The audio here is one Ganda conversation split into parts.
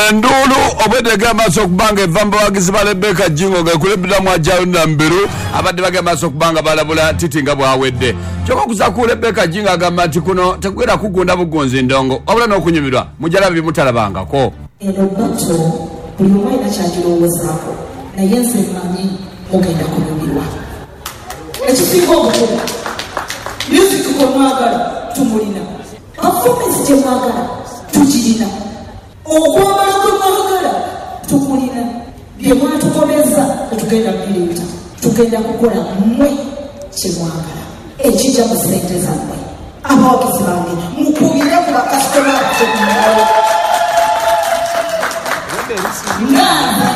Enduulu obwedda egenda mu maaso okuba nga eva mu bawagizi ba Rebecca Jjingo nga ekulembeddwamu Ajaruna Mubiru abadde bagenda mu maaso okuba nga balabula Titi nga bw'awedde. Kyokka okuza ku Rebecca Jjingo agamba nti kuno tekugenda kugunda bugunzi ndongo wabula n'okunyumirwa mujja laba bye mutalabangako. Eno battle buli omu alina kyagirowoozaako naye nze mmanyi mugenda kunyumirwa. Ekisinga obukulu music gwe mwagala tumulina, performance gye mwagala tugirina, okwambala kwe mwagala tukulina, bye mwatukomezza tetugenda bireeta, tugenda kukola mmwe kye mwagala ekigya mu ssente zammwe. Abawagizi bange mukubire ku bakasitoma baffe mu ngalo nga nze.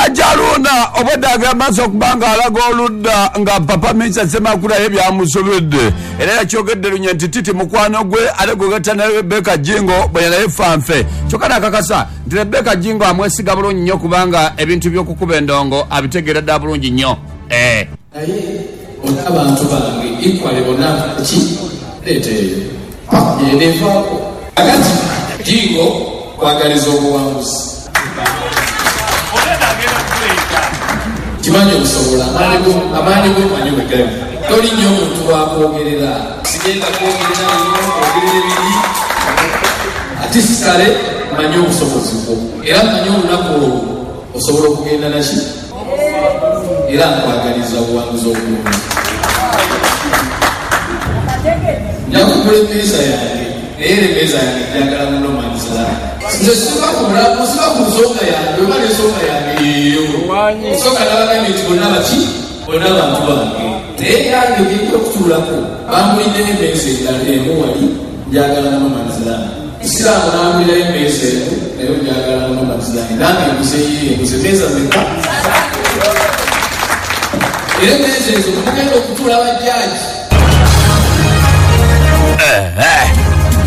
Ajaluna obwedda agamba okuba nga alaga oludda nga Papa Minsa Ssemakula ye byamusobedde era yakyogedde lunye nti Titi mukwano gwe ate gwegatta ne Rebecca Jjingo bwe naye fanfe kyokka nakakasa nti Rebecca Jjingo amwesiga bulungi nnyo kubanga ebintu by'okukuba endongo abitegeera ddala bulungi nnyo. Eh. Naye bona abantu bange equally bona ki leeta eyo yenevaako. Kakati Jjingo nkwagaliza obuwanguzi. Nkimanyi obisobola, amaanyi go mmanyi we gali. Toli nnyo muntu wa kwogerera. Sigenda kwogerera bino, nkwogerere biri. Artistically mmanyi obusobozi bwo era mmanyi olunaku olwo osobola okugenda naki era nkwagaliza obuwanguzi obulungi. Nja kugula emmeeza yange naye era emmeeza yange njagala mu no man's land. Nze siva ku mulamwa, siva ku nsonga yange oba n'ensonga yange yeeyo. Nsooka nabagambye nti bonna baki? Bonna bantu bange. Naye eyange gyenja okutuulaku banguliddeyo emmeeza endala emu wali njagala mu no man's land. Musiraamu n'angulirayo emmeeza emu nayo njagala mu no man's land. Nange nguze yiye, nguze meeza meka? Era emmeeza ezo mwe mugenda okutuula ba jaaji.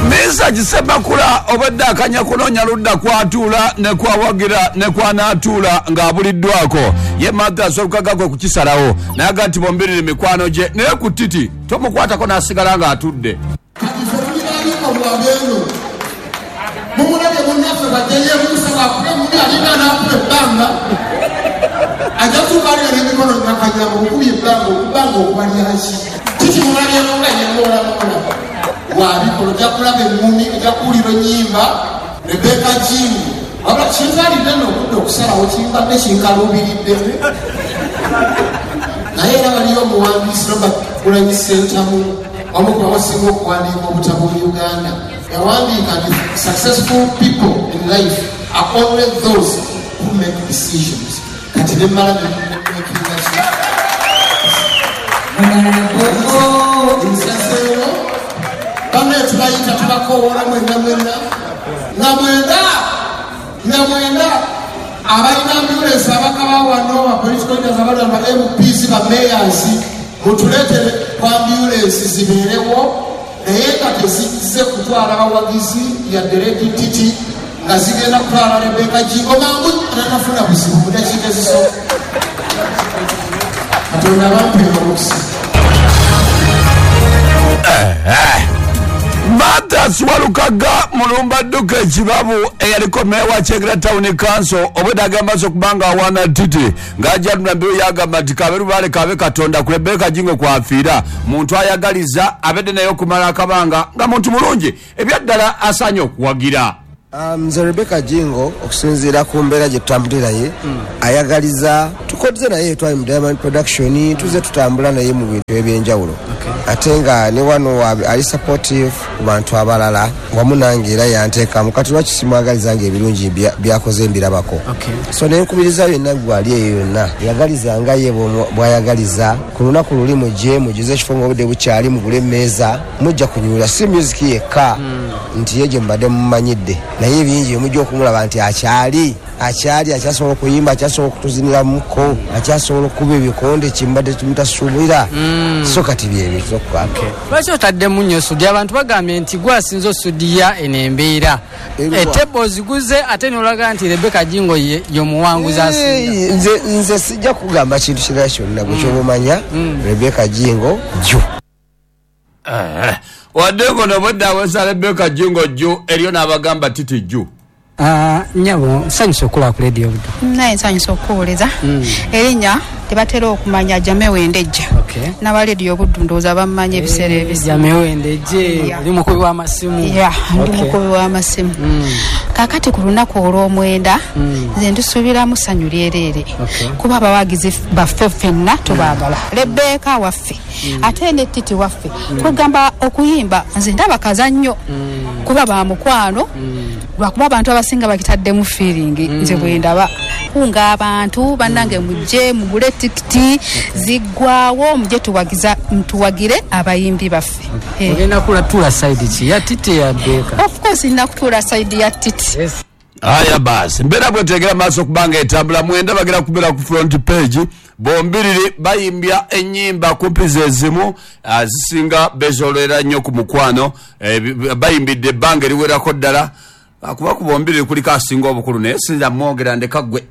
Mesach Ssemakula obwedda akanya kunoonya ludda kw'atuula ne kw'awagira ne kw'anaatuula ng'abuliddwako. Ye Mathias Walukaga kwe kukisalawo n'agamba nti bombiriri mikwano gye naye ku Titi tomukwatako n'asigala ng'atudde. Kati ffe tuli ba bikolwa beeno. Mumulabye munnaffe bw'ajja yeebuusa bw'akuba emmuli alinga anaakuba ebbanga. Ajja kutuuka alira n'emikono Nakanyama okubye ebbanga okubbanga okuba lyaki? Kiki mulabyemu nga yeemoolamoola? Wa bikolwa ojja kulaba emmuni, ojja kuwulira ennyimba. Rebecca Jjingo, Wabula kintwalidde nno obudde okusalawo kimbadde kinkaluubiriddemu naye era waliyo omuwandiisi Robert Kyagulanyi Ssentamu omu ku basinga okuwandiika obutabo mu Uganda yawandiika nti successful people in life are only those who make decisions kati nemmala nemakinga ki nsazeewo bannaye tubayita tubakowoola mwenna mwenna nga mwenda nga mwenda abalina ambulensi abakaba wano ba political leaders abali wano ba MPs ba mayors mutuleetere ku ambulensi zibeerewo naye nga tezizze kutwala bawagizi yadde Lady Titi nga zigenda kutwala Rebecca Jjingo mangu tanafuna buzibu mu dakiika ezisooka. Katonda abampeere omukisa. Mathias Walukaga Mulumba Dduka Ekibabu eyaliko meeya wa Kyengera Town Council obwedda agamba nti okuba nga awaana Titi ng'aja Mbiru yaagamba nti k'abe lubaale k'abe Katonda ku Rebecca Jjingo kw'afiira muntu ayagaliza abedde naye okumala akabanga nga muntu mulungi ebyaddala asaanye okuwagira. Nze Rebecca Jingo okusinziira ku mbeera gye tutambudde naye ayagaliza tukodze naye twali mu Diamond Production tuzze tutambula naye mu bintu eby'enjawulo ate nga ne wano ali supportive ku bantu abalala wamu nange era yanteekamu kati lwaki simwagaliza nga ebirungi byakoze mbirabako so ne nkubiriza yenna gwe ali eyo yonna yagaliza nga ye bw'ayagaliza ku lunaku luli mujje mujjuze ekifo ng'obudde bukyali mugule emmeeza Mujja kunyumirwa si music yekka nti ye gyemubadde mumumanyidde naye bingi byemujja okumulaba nti akyali akyali akyasobola okuyimba akyasobola okutuziniramuko akyasobola okukuba ebikonde kyemubadde mutasuubira so kati byebyo tuza Okay. Lwaki otaddemu nnyo sudi? Abantu bagambye nti gwe asinze osudiya eno embeera. Etebbe oziguze ate n'olaga nti Rebecca Jingo ye y'omuwanguzi asinga. Nze nze sijja kugamba kintu kirala kyonna gwe kyoba omanya Rebecca Jingo jju. Wadde ngono obwedda awesa Rebecca Jjingo jju eriyo n'abagamba Titi jju. Nyabo nsanyusa okulaba ku Radio Buddu. Naye nsanyusa okukuwuliza. Erinnya tebatera okumanya Jamewo Ndejje. N'aba Radio Buddu ndowooza bammanyi ebiseera ebisinga. Jamewo Ndejje, oli mukubi w'amasimu. Yeah, ndi mukubi w'amasimu. Kaakati ku lunaku olw'omwenda nze ndusuubiramu ssanyu lyereere. Kuba abawagizi baffe ffenna tubaagala. Rebecca waffe ate ne Titi waffe. Kugamba okuyimba nze ndaba kazannyo kuba ba mukwano. Lwakuba abantu abasinga bakitaddemu feeling nze bwe ndaba. Kunga abantu bannange mujje mugule tikiti ziggwawo mujje tuwagire abayimbi baffe. Ogenda kutuula side ki ya Titi ya Rebecca? Of course nina kutuula side ya Titi. Aya basi mbeera bwetegera maaso kubanga etambula mwenda bagera kubeera ku front page bombiriri bayimbya ennyimba kumpi ze zimu zisinga bezolera nnyo ku mukwano bayimbidde ebbanga eriwerako ddala akuba ku bombiriri kuliko asinga obukulu naye sinza mwogera ndeka ggwe.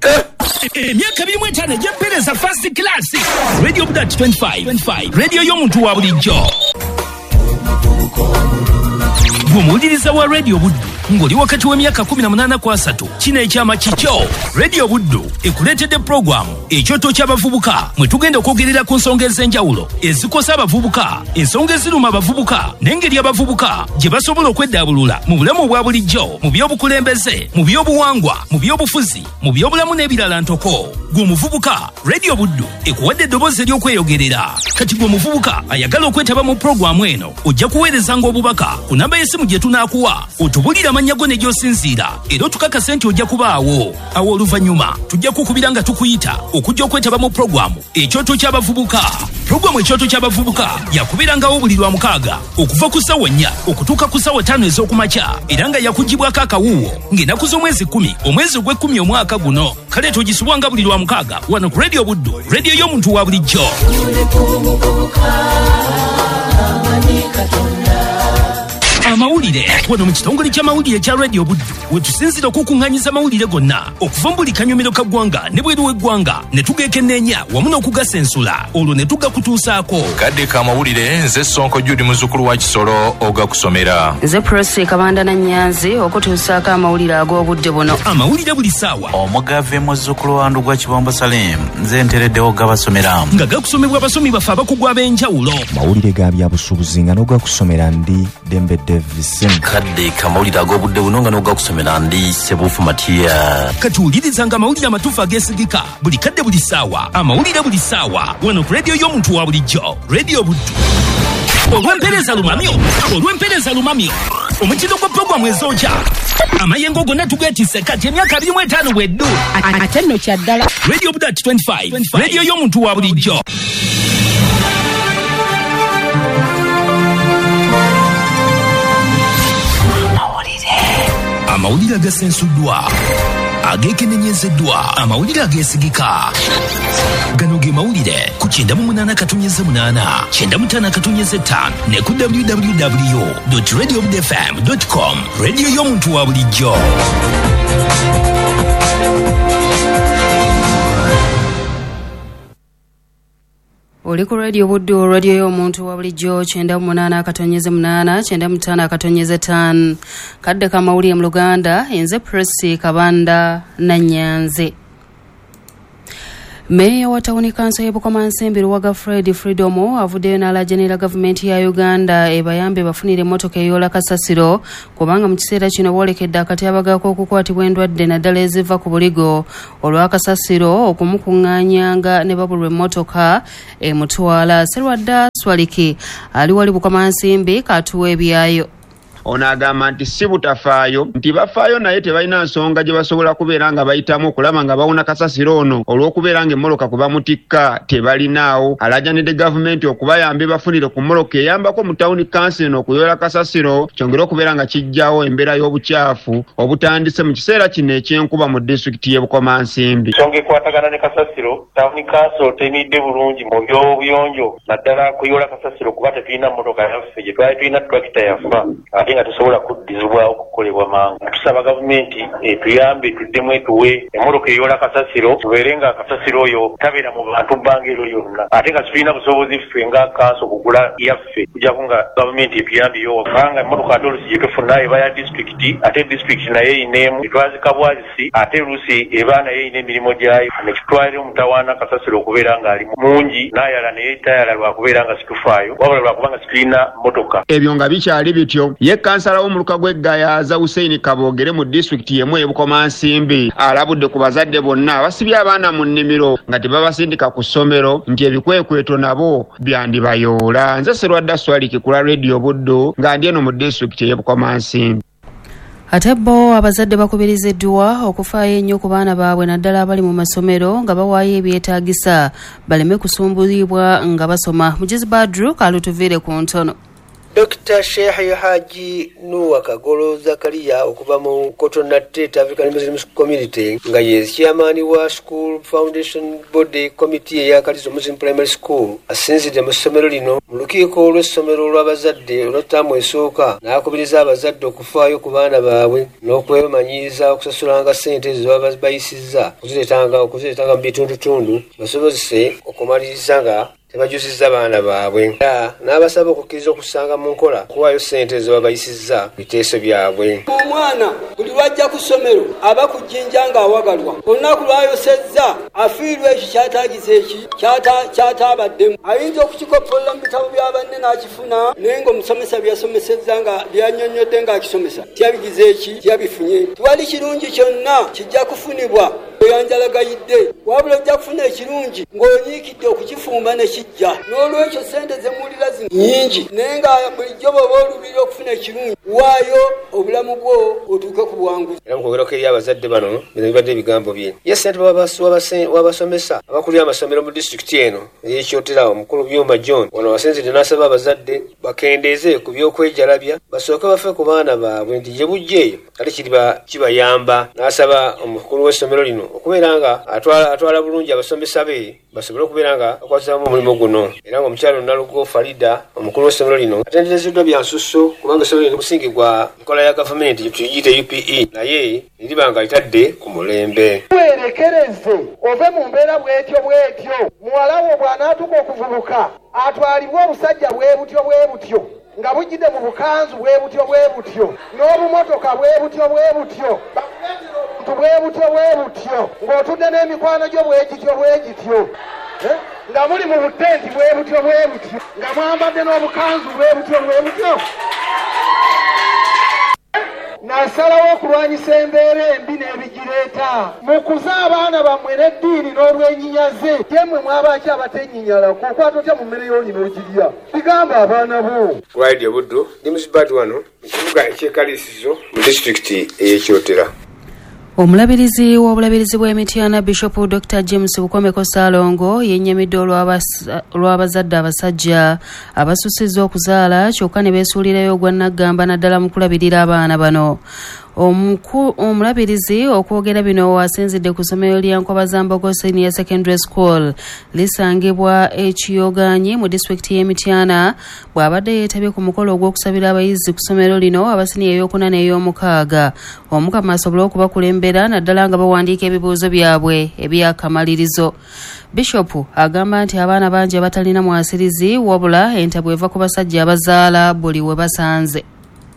Emyaka 25 egy'empeereza first class Radio Buddu 25 radio y'omuntu wa bulijjo. Gwe wa Radio Buddu ng'oli wakati w'emyaka 18 ku 30 kino ekyama kikyo. Radio Buddu ekuleetedde pulogulaamu ekyoto ky'abavubuka mwe tugenda okwogerera ku nsonga ez'enjawulo ezikosa abavubuka, ensonga eziruma abavubuka n'engeri abavubuka gye basobola okweddaabulula mu bulamu obwa bulijjo, mu by'obukulembeze, mu by'obuwangwa, mu by'obufuzi, mu by'obulamu n'ebirala ntoko. Gwe omuvubuka, Radio Buddu ekuwadde eddoboozi ery'okweyogerera. Kati gwe omuvubuka ayagala okwetaba mu pulogulaamu eno ojja kuweerezanga obubaka ku namba y'essimu gye tunaakuwa otubulire amannya go ne gy'osinziira era otukakase nti ojja kubaawo. Awo oluvannyuma tujja kukubira nga tukuyita okujja okwetaba mu pulogulaamu ekyoto ky'abavubuka. Pulogulaamu ekyoto ky'abavubuka yakubeerangawo buli lwa mukaaga okuva ku ssaawa 4 okutuuka ku ssaawa 5 ez'okumakya era nga yakugibwako akawuwo ng'ennaku z'omwezi 10 omwezi ogw'ekkumi omwaka guno. Kale togisubwanga buli lwa mukaaga wano ku Radio Buddu, radio y'omuntu wa bulijjo. Amawulire wano mu kitongole ky'amawulire kya Radio Buddu we tusinziira okukuŋŋaanyiza amawulire gonna okuva mu buli kanyomero ka ggwanga ne bweru w'eggwanga ne tugeekenneenya wamu n'okugasensula olwo ne tugakutuusaako. Kadde k'amawulire nze Ssonko Jude muzzukulu wa Kisolo ogakusomera. Nze Prossy Kabanda na Nnyanzi okutuusaako amawulire ag'obudde buno. Amawulire buli ssaawa. Omugave muzzukulu wa Ndugwa Kibombo Salim nze ntereddewo gabasomera. Nga gakusomebwa abasomi baffe abakugu ab'enjawulo. Mawulire ga byabusuubuzi nga n'ogakusomera ndi Dembe Davis. Kadde kamawulire ag'obudde buno nga n'ogakusomera ndi Sebufu Matia. Katuwulirizanga amawulire amatuufu ageesigika buli kadde buli ssaawa. Amawulire buli ssaawa wano ku radio y'omuntu wa bulijjo, Radio Buddu. Olw'empeereza lumamyo omutindo gwa pulogulaamu ezokya amayengo gonna tugeetisse kati emyaka 25 bweddu ate nno kya ddala. Radio Buddu 25 radio y'omuntu wa bulijjo. Amawulire agasensuddwa ageekenenyezeddwa amawulire ageesigika gano ge mawulire ku 98.8 95.5 ne ku www.radiobudfm.com radio y'omuntu wa bulijjo. Oli ku Radio Buddu, radio y'omuntu wa bulijjo 98.8 95.5. Kadde k'amawulire mu Luganda, nze Prossy Kabanda na Nnyanzi. Meeya wa tawuni kanso y'e Bukomansimbi Luwaga Fred Freedom avuddeyo n'alajanira gavumenti ya Uganda ebayambe bafunire emmotoka eyoola kasasiro kubanga mu kiseera kino boolekedde akatyabaga k'okukwatibwa endwadde naddala eziva ku buligo olwa kasasiro okumukuŋŋaanyanga ne babulwa emmotoka emutwala. Serwadda Swaliki ali wali Bukomansimbi katuwa ebyayo. Ono agamba nti si butafaayo nti bafaayo naye tebalina nsonga gye basobola kubeera nga bayitamu okulaba nga bawona kasasiro ono olw'okubeera ng'emmoloka kwe bamutikka tebalinaawo. Alajanidde gavumenti okubayamba bafunire ku mmoloka eyambako mu tawuni kansi eno okuyoola kasasiro kyongere okubeera nga kijjawo embeera y'obukyafu obutandise mu kiseera kino eky'enkuba mu disitulikiti y'e Bukomansimbi. Ensonga ekwatagana ne kasasiro, tawuni kanso teyimiridde bulungi mu by'obuyonjo naddala kuyoola kasasiro kuba tetulina mmotoka yaffe gye twali tulina tulakita yafa. ate nga tesobola kuddizibwawo kukolebwa mangu. Tusaba gavumenti etuyambe tuddemu etuwe emmotoka eyoola kasasiro, tubeere nga kasasiro oyo tabeera mu bantu bbanga eryo lyonna, ate nga situlina busobozi ffe nga kanso kugula yaffe, kujjako nga gavumenti etuyambyeyo, kubanga emmotoka ate oluusi gye tufuna eba ya disitulikiti, ate disitulikiti nayo erina emu etwazika bwazisi, ate oluusi eba nayo erina emirimu gyayo, ne kitwalira omutawaana kasasiro okubeera ng'ali mungi n'ayala naye tayala lwa kubeera nga situfaayo, wabula lwa kuba nga situlina mmotoka. Ebyo nga bikyali bityo, ye kansala w'omuluka gw'e Gayaza Hussein Kaboogere mu disitulikiti y'emu ey'e Bukomansimbi alabudde ku bazadde bonna abasibye abaana mu nnimiro nga tebabasindika ku ssomero nti ebikwekweto nabo byandibayoola. Nze Serwadda Swaliki ku lwa Radio Buddu nga ndi eno mu disitulikiti ey'e Bukomansimbi. Ate bo abazadde bakubiriziddwa okufaayo ennyo ku baana baabwe, naddala abali mu masomero, nga bawaayo ebyetaagisa baleme kusumbuyibwa nga basoma. Mugizi Badru kalutuviire ku ntono. Dr Sheikh Haji Nuwa Kagolo Zakaria okuva mu Cotonate African Muslim Community, nga ye chairman wa School Foundation Body Committee eya Kalizo Muslim Primary School, asinzidde mu ssomero lino mu lukiiko lw'essomero olw'abazadde olwa ttaamu esooka, n'akubiriza abazadde okufaayo ku baana baabwe n'okwemanyiiza okusasulanga ssente ezo baba bayisizza okuzireetanga mu bitundutundu, basobozese okumaliriza nga tebajuzizza baana baabwe, era n'abasaba okukkiriza okussanga mu nkola okuwaayo ssente ezo babayisizza biteeso byabwe. Omwana buli lwajja ku ssomero aba ku jjinja ng'awagalwa. Olunaku lwayosezza afiirwa ekyo kyataagiza, eki kyataabaddemu. Ayinza okukikoppolola mu bitabo bya banne n'akifuna, naye ng'omusomesa byeyasomesezza nga byannyonnyodde ng'akisomesa tyabigize eki tyabifunye. Tiwali kirungi kyonna kijja kufunibwa oyanjalagayidde, wabula ojja kufuna ekirungi ng'onyiikidde okukifumba ne kijja. N'olwekyo ssente zemuwulira zino nnyingi, naye nga bulijjo bw'oba oluubirira okufuna ekirungi, waayo obulamu bwo otuuke ku buwanguzi. Era mu kwogerako eri abazadde bano, bino bibadde ebigambo bye. Ye ssentebe w'abasomesa abakulira amasomero mu disitulikiti eno ey'e Kyotera, omukulu Byuma John, wano wasinzidde n'asaba abazadde bakendeeze ku by'okwejalabya, basooke bafe ku baana baabwe nti gye bujja eyo ate kiriba kibayamba, n'asaba omukulu w'essomero lino okubeera nga atwala bulungi abasomesa be basobole okubeera nga bakwatiramu omulimu guno. Era ng'omukyala Nalugo Farida, omukulu w'essomero lino, atenderezeddwa bya nsusso kubanga essomero lino musingi gwa nkola ya gavumenti tugiyite UPE, naye liriba nga litadde ku mulembe. Weerekereze ove mu mbeera bw'etyo bw'etyo. Muwala wo bw'anaatuuka okuvubuka, atwalibwe obusajja bwe butyo bwe butyo, nga bujjidde mu bukanzu bwe butyo bwe butyo, n'obumotoka bwe butyo bwe butyo, bakuleetere obuntu bwe butyo bwe butyo, ng'otudde n'emikwano gyo bwe gityo bwe gityo, nga muli mu butenti bwe butyo bwe butyo, nga mwambadde n'obukanzu bwe butyo bwe butyo. Nasalawo okulwanyisa embeera embi n'ebigireeta. Mukuze abaana bammwe n'eddiini n'olwenyinyaze. Ye mmwe mwabaki abatenyinyalako? Okwata otya mu mmere y'oli n'ogirya? Bigamba abaana bo. Ku Radio Buddu, ndi Musibati wano mu kibuga eky'e Kaliisizo mu disitulikiti ey'e Kyotera. Omulabirizi w'obulabirizi bw'e Mityana Bishop Dokita James Bukomeko Ssaalongo yennyamidde olw'abazadde abasajja abasusizza okuzaala kyokka ne beesuulirayo ogwa nnaggamba naddala mu kulabirira abaana bano. Omulabirizi okwogera bino asinzidde ku ssomero lya Nkobazambogo Senior Secondary School lisangibwa e Kiyoganyi mu disitulikiti y'e Mityana, bw'abadde yeetabye ku mukolo ogw'okusabira abayizi ku ssomero lino abasiniya ey'okuna n'ey'omukaaga Omukama asobole okubakulembera naddala nga bawandiika ebibuuzo byabwe eby'akamalirizo. Bishop agamba nti abaana bangi abatalina mwasirizi, wabula entabwe eva ku basajja abazaala buli we basanze.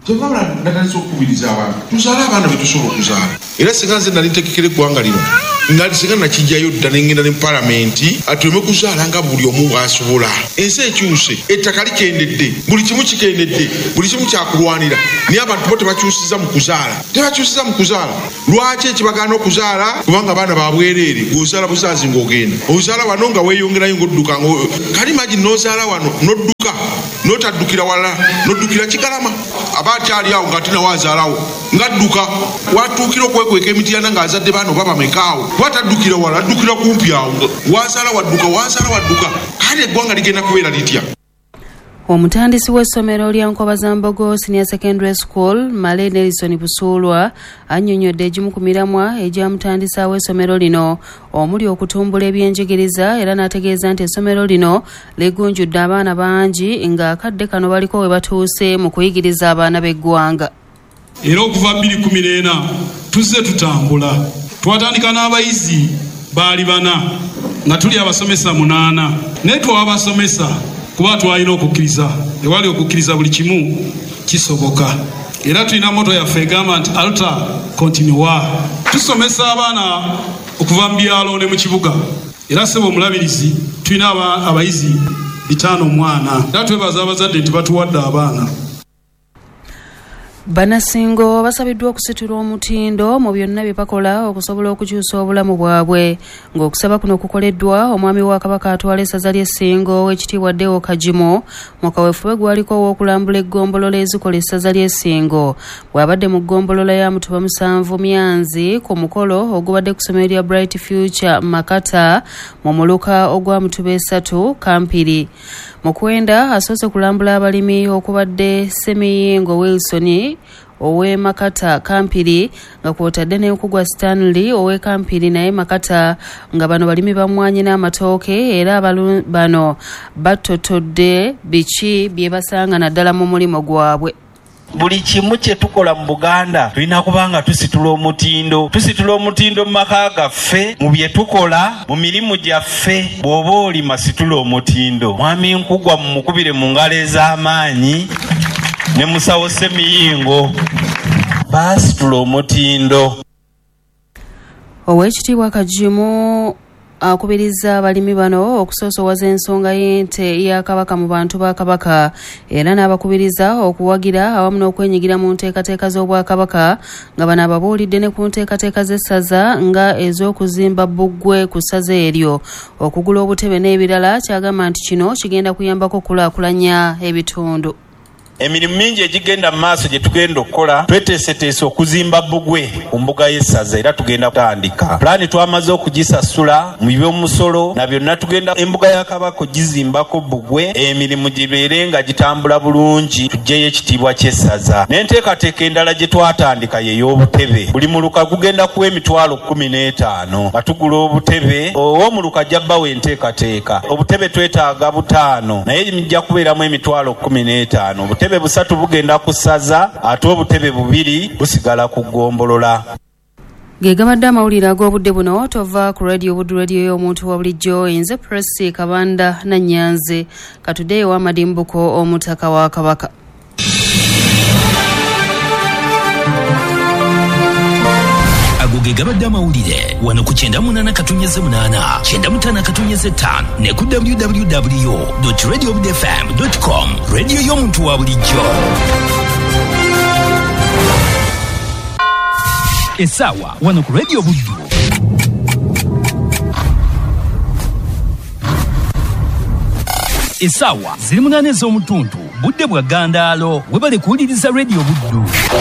Kyova olaba natandise okukubiriza abantu tuzaale abaana betusobola okuzaala, era singa nze nali ntegekera eggwanga lino, nali singa nakijjayo dda nengenda ne palamenti atuleme kuzaala nga buli omu bw'asobola. Ensi ekyuse, ettaka likendedde, buli kimu kikendedde, buli kimu kyakulwanira, naye abantu bo tebakyusiza mu kuzaala, tebakyusiza mu kuzaala. Lwaki ekibagaana okuzaala? Kubanga abaana ba bwereere, gw'ozaala buzaazi ng'ogenda ozaala wano nga weeyongerayo ng'odduka, kali imagine n'ozaala wano n'odduka n'otaddukira wala, n'oddukira Kigalama, aba akyali awo ng'ate nawe azaalawo ng'adduka, watuukira okwekweka emityana ng'azadde baana oba bameka awo, kuba taddukira wala, addukira kumpi awo, wazaala wadduka, wazaala wadduka, kale eggwanga ligenda kubeera litya? Omutandisi w'essomero lya Nkobazambogo Senior Secondary School, Male Nelson Busuulwa, annyonnyodde egimu ku miramwa egyamutandisaawo essomero lino omuli okutumbula ebyenjigiriza, era n'ategeeza nti essomero lino ligunjudde abaana bangi ng'akadde kano baliko we batuuse mu kuyigiriza abaana b'eggwanga. Era okuva 2014 tuzze tutambula. Twatandika n'abayizi baali 4 nga tuli abasomesa 8, naye twabasomesa kuba twalina okukkiriza. Ewali okukkiriza buli kimu kisoboka. Era tulina moto yaffe egamba nti alta continua. Tusomesa abaana okuva mu byalo ne mu kibuga. Era ssebo omulabirizi, tulina abayizi 5 omwana. Era twebaza abazadde nti batuwadde abaana. Bannasingo basabiddwa okusitula omutindo mu byonna bye bakola okusobola okukyusa obulamu bwabwe, ng'okusaba kuno kukoleddwa omwami wa Kabaka atwala essaza ly'Essingo ow'ekitiibwa Deo Kagimu mu kaweefube gwaliko ow'okulambula eggombolola ezikola essaza ly'Essingo. Bw'abadde mu ggombolola ya Mutuba 7 Myanzi ku mukolo ogubadde ku ssomero lya Bright Future Makata mu muluka ogwa Mutuba 3 Kampiri. Mukwenda asoose kulambula abalimi okubadde Semiyingo Wilson ow'e Makata Kampiri, nga kw'otadde n'Enkugwa Stanley ow'e Kampiri naye Makata, nga bano balimi ba mmwanyi n'amatooke, era bano batotodde biki bye basanga naddala mu mulimu gwabwe. Buli kimu kye tukola mu Buganda tulina kuba nga tusitula omutindo. Tusitula omutindo mu maka gaffe, mu bye tukola, mu mirimu gyaffe. Bw'oba olima situla omutindo. Mwami Nkugwa mumukubire mu ngalo ez'amaanyi ne musawo Semiyingo, baasitula omutindo. Oweekitiibwa Kagimu akubiriza abalimi bano okusoosowaza ensonga y'ente ya Kabaka mu bantu ba Kabaka, era n'abakubiriza okuwagira awamu n'okwenyigira mu nteekateeka z'Obwakabaka, nga bano ababuulidde ne ku nteekateeka z'essaza nga ez'okuzimba bbugwe ku ssaza eryo, okugula obutebe n'ebirala, kyagamba nti kino kigenda kuyambako okukulaakulanya ebitundu. Emirimu mingi egigenda mu maaso gye tugenda okukola, tweteeseteese okuzimba bbugwe ku mbuga y'essaza, era tugenda kutandika. Pulaani twamaze okugisasula mu by'omusolo na byonna, tugenda embuga ya Kabaka ogizimbako bbugwe, emirimu gibeere nga gitambula bulungi, tuggyeyo ekitiibwa ky'essaza. N'enteekateeka endala gye twatandika ye y'obutebe. Buli muluka gugenda kuwa emitwalo 15 nga tugula obutebe. Ow'omuluka ajja bbawa enteekateeka. Obutebe twetaaga 5, naye mijja kubeeramu emitwalo 15. Obutebe 3 bugenda ku ssaza, ate obutebe 2 busigala ku ggombolola. Ge gabadde amawulire ag'obudde buno. Tova ku Radio Buddu, radio y'omuntu wa bulijjo. Nze Presi Kabanda Nannyanzi. Katuddeyo wa Madimbuko omutaka wa Kabaka. Ago ge gabadde amawulire wano ku 98.8, 95.5 ne ku www.radiobudfm.com. Radio y'omuntu wa bulijjo. Essaawa wano ku Radio Buddu. Essaawa ziri 8 ez'omutuntu, budde bwa ggandaalo. Webale kuwuliriza Radio Buddu.